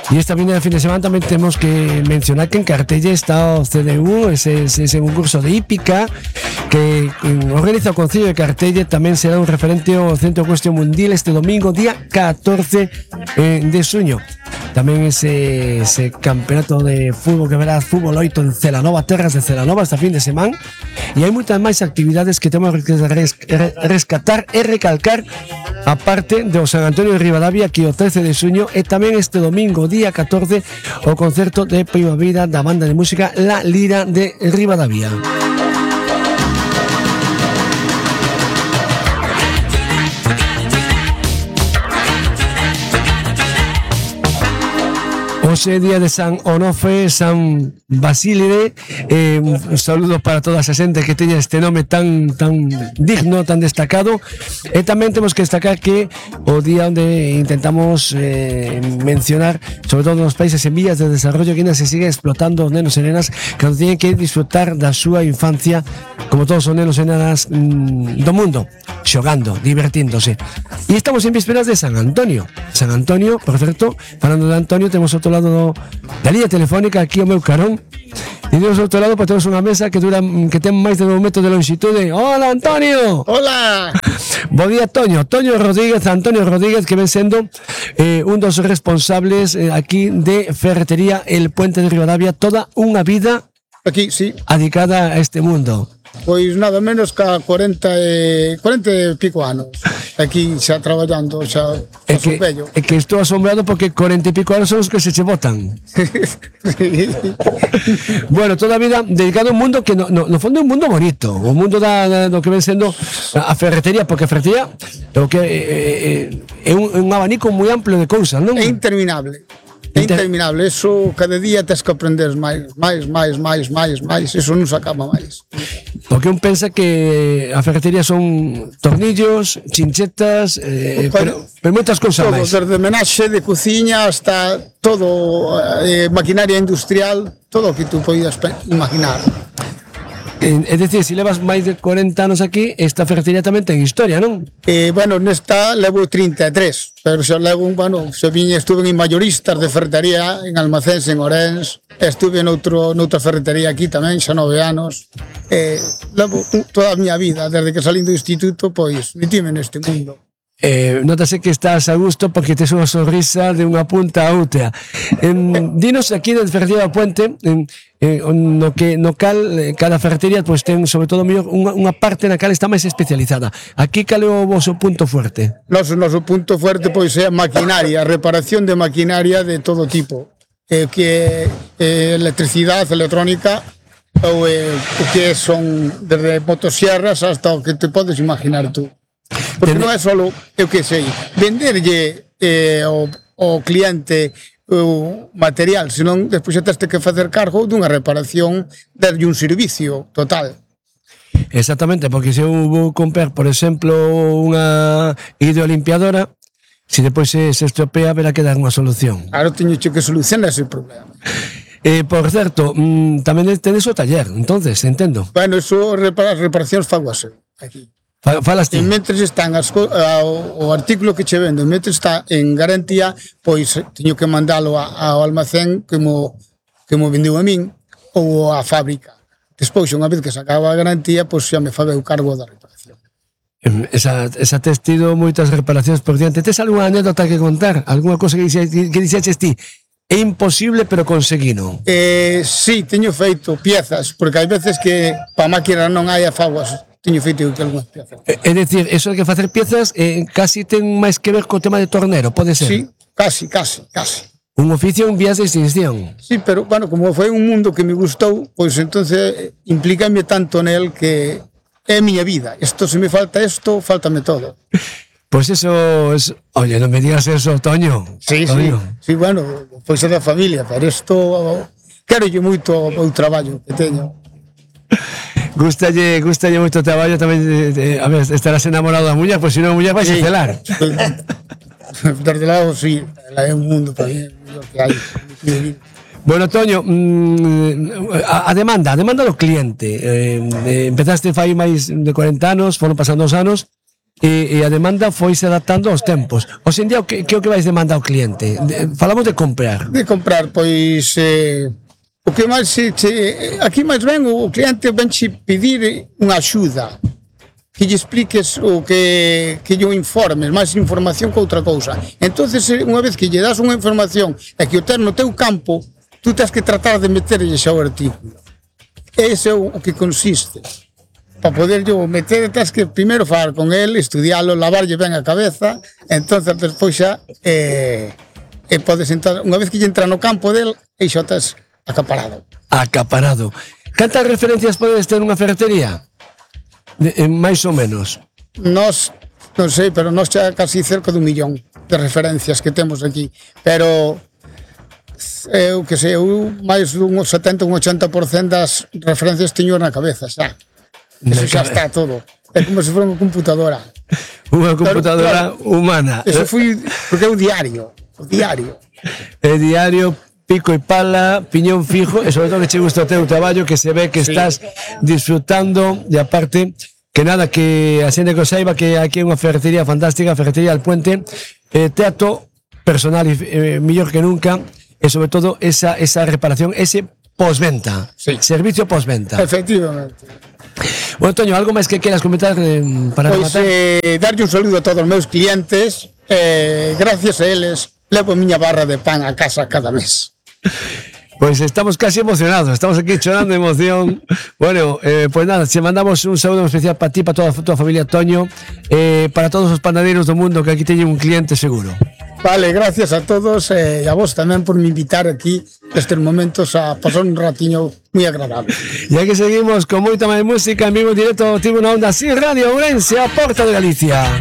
E esta fin de semana tamén temos que mencionar que en Cartelle está o CDU, ese concurso de hípica que organiza o Concello de Cartelle. Tamén será un referente ao Centro Cuestión Mundial este domingo, día 14 de xuño. Tamén ese campeonato de fútbol que verá fútbol 8 en Celanova, terras de Celanova esta fin de semana. E hai moitas máis actividades que temos que rescatar e recalcar, aparte do San Antonio de Ribadavia, que o 13 de xuño, e tamén este domingo, día 14, o concerto de primavera da banda de música La Lira de Ribadavia. Hoxe día de San Onofre, San Basílide. Un saludo para toda esa xente que teña este nome tan digno, tan destacado. E tamén temos que destacar que o día onde intentamos mencionar, sobre todo nos países en vías de desarrollo, que ainda se sigue explotando os nenos e nenas que non teñen que disfrutar da súa infancia como todos os nenos e nenas do mundo, xogando, divertíndose. E estamos en vísperas de San Antonio. San Antonio, por certo, falando de Antonio, temos outro lado da línea telefónica aquí ao meu carón, e temos outro lado, pues temos unha mesa que ten máis de 2 metros de longitude. Hola, Antonio. Hola. Bo día, Antonio Rodríguez, que ven sendo un dos responsables aquí de Ferretería El Puente de Ribadavia, toda unha vida aquí, sí, adicada a este mundo. Pois nada menos que 40 e pico anos aquí xa traballando, xa vello. É que estou asombrado porque 40 e pico anos son os que se botan. Bueno, toda a vida dedicado a un mundo que no fondo é un mundo bonito, o mundo do que ven sendo a ferretería, porque a ferretería é un abanico moi amplio de cousas, non? É interminable. É interminable, eso cada día tens que aprender máis, eso non se acaba máis. Porque un pensa que a ferretería son tornillos, chinchetas, pero moitas cousas máis. Todo, desde menaxe de cociña hasta todo, maquinaria industrial, todo o que tú poidas imaginar. É dicir, se levas máis de 40 anos aquí, esta ferretería tamén ten historia, non? Bueno, nesta levo 33, pero xa levo, estuve en mayoristas de ferretería en Almacéns, en Orens, estuve noutra ferretería aquí tamén, xa 9 anos. Levo toda a miña vida, desde que salín do instituto, pois, metime neste mundo. Notase que estás a gusto porque tes unha sonrisa de unha punta a outra. Dinos aquí de Ferretería do Puente, no cal cada ferretería pues ten sobre todo unha parte na cal está máis especializada. Aquí cal é o voso punto fuerte? Noso punto fuerte pois é a maquinaria, a reparación de maquinaria de todo tipo, que electricidade, electrónica, ou o que son desde motosierras hasta o que te podes imaginar tú. Porque non é só, eu que sei, venderlle ao cliente o material, senón despois xa teste que facer cargo dunha reparación, darlle un servicio total. Exactamente, porque se eu vou comprar, por exemplo, unha hidrolimpiadora, se depois se estropea, verá que dar unha solución. Claro, teño que solucionar ese problema. Por certo, tamén tenes o taller, entonces, entendo. Bueno, eso, reparacións fago así, aquí. Falas ti. E mentres están o artículo que che vendo, mentres está en garantía, pois teño que mandalo ao almacén que mo vendeu a min ou á fábrica. Despois, unha vez que se acaba a garantía, pois xa me fago o cargo da reparación. Esa tes tido moitas reparacións por diante. Tes algunha anécdota que contar? Algúna cosa que dixeches ti? É imposible, pero conseguino. Sí, teño feito piezas, porque hai veces que pa máquina non hai afaguas. Teño feito algunhas piezas. É dicir, eso de que facer piezas casi ten máis que ver co tema de tornero, pode ser? Sí, casi. Un oficio en vías de extinción. Sí, pero, bueno, como foi un mundo que me gustou, pois entonces implícame tanto nel que é a miña vida. Isto, se me falta isto, fáltame todo. Pois eso es... Oye, non me digas eso, Toño. Sí, Toño. Sí, bueno, pois é da familia, pero isto quero moito o traballo que teño. Gustalle moito o traballo tamén. A ver, estarás enamorado da muller, pois se non a muller vais a celar. Desde lado, sí, é un mundo para mí, o que hai. Bueno, Toño, a demanda do cliente. Empezaste fai máis de 40 anos, foron pasando os anos, e a demanda foise adaptando aos tempos. Hoxe en día, que é o que vais demandar ao cliente? Falamos de comprar. De comprar, pois o que máis aquí máis ben o cliente venche pedir unha axuda, que lle expliques o que lle informes, máis información que outra cousa. Entonces, unha vez que lle das unha información e que o ten no teu campo, tú tens que tratar de meterlle xa o artículo. Ese é o que consiste. Para poder yo meter, tens que primeiro falar con el, estudialo, lavarlle ben a cabeza, entonces despois xa podes entrar, unha vez que lle entra no campo del, e xa estás acaparado. Acaparado. Cantas referencias podes ter nunha ferretería? Máis ou menos. Nos, non sei, pero nos xa casi cerca de 1 millón de referencias que temos aquí, pero eu que sei, máis dun 70 ou 80% das referencias teño na cabeza xa. Eso xa está todo. É como se fora unha computadora. Unha computadora humana. Eso foi porque é o diario. O diario. É diario, pico e pala, piñón fijo, e sobre todo que che gusta o teu traballo, que se ve que estás disfrutando, e aparte, que nada, que a xente que o saiba que aquí é unha ferretería fantástica, a Ferretería Alpuente, trato personal mellor que nunca, e sobre todo esa reparación, ese postventa, servicio postventa. Efectivamente. Bueno, Toño, algo máis que queras comentar para rematar? Pois darlle un saludo a todos os meus clientes, gracias a eles levo a miña barra de pan a casa cada mes. Pois estamos casi emocionados, estamos aquí chorando de emoción. Bueno, pues nada, te mandamos un saludo especial para ti, para toda a tua familia, Toño, para todos os panadeiros do mundo, que aquí teñen un cliente seguro. Vale, gracias a todos e a vos tamén por me invitar aquí nestes momentos a pasar un ratiño moi agradable. E aquí seguimos con moita máis música en vivo directo, Tribuna Onda, Sin Radio, Ourense, a Porta de Galicia.